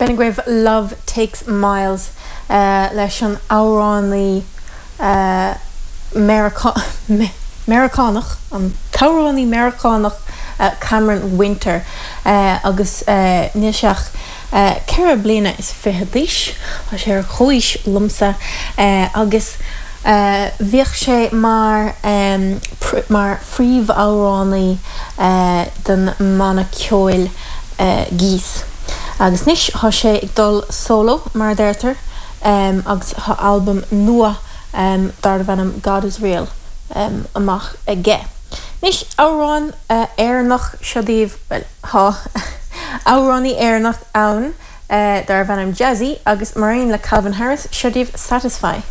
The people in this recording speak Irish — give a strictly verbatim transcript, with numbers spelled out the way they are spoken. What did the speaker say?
B'in agaibh Love Takes Miles uh, leis an amhránaí uh, Meiriceánach an t-amhránaí Meiriceánach uh, Cameron Winter uh, agus uh, níl sé ach uh, ceithre bliana is fiche d'aois Tá sé ar chomhaois liomsa uh, agus uh, bhíodh sé mar um, mar phríomhamhránaí uh, den mbanna ceoil uh, Geese. Agus anois tá sé ag dul solo mar deirtear um, agus tá albam nua um, darb ainm God is Real um, amach aige. Anois amhrán uh, Éireannach seo daoibh well, tá amhránaí Éireannach ann uh, darb ainm Jazzy agus mar aon le Calvin Harris seo daoibh Satisfy.